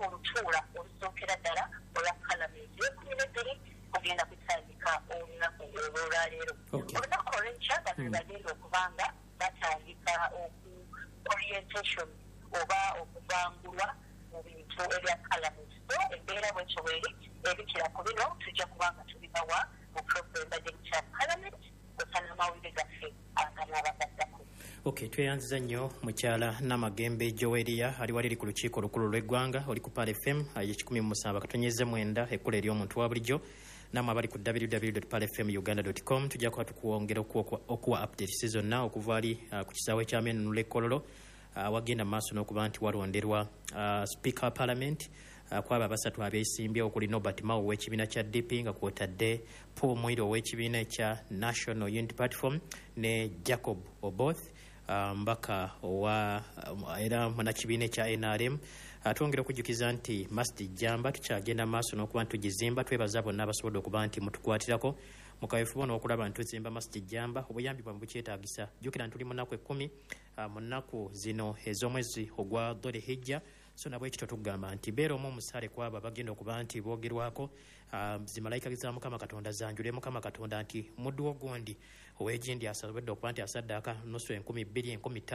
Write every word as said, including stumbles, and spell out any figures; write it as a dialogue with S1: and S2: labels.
S1: Olutuula olusookera ddala olwa Palamenti ekumi n'ebbiri kugenda kutandika olunaku olwolwaleero. Olunaku olwenkya bano bagenda okubanga batandika oku orientation oba okubangulwa mu bintu ebya Palamenti. So embeera bwetyo bweri. Ebikira ku bino tujja kubanga tubibawa mu program bagiyita Palamenti osa n'amawulire gaffe aganaabagaddako.
S2: Ok, tweyanziza nnyo mukyala Namagembe Joweria, ali waliri ku Lukiiko Olukulu lw'Eggwanga. Oli ku Pearl F M ekikumi mu musanvu akatonyeze mwenda, ekkula ery'omuntu wa bulijjo. Namwe abali ku W W W pearl F M uganda com, tujja kuba tukwongera okuwa okuwa updates zonna okuva ali uh, ku kisaawe ky'Amenunula Ekkololo, uh, wagenda mu maaso n'okuba nti walonderwa uh, Speaker wa Parliament uh, kwabo abasatu abeesimbye, okuli Norbert Mao ow'ekibiina kya D P, nga kwotadde Paul Mwire ow'ekibiina ekya National Unity Platform, ne Jacob Oboth, uh, mbaka owa uh, era munakibiina ekya N R M. uh, twongera okujjukiza nti Masjid Jamba tukyagenda maaso n'okuba nti tugizimba. Twebaza bonna abasobodde okuba nti mutukwatirako mukawefuba n'okulaba nti tuzimba Masjid Jamba. Obuyambi bwamwe bukyetaagisa. Jjukira nti tuli mu nnaku ekkumi uh, mu nnaku zino ez'omwezi ogwa Dhul Hijja. So nabwekityo tugamba nti beera omu omusaale ku abo abagenda okuba nti boogerwako, uh, zimalayika za Mukama Katonda zanjule Mukama Katonda nti muddu wo gundi ow'egindi asobodde okuba nti asaddaaka nusu enkumi bbiri, enkumi ttaano.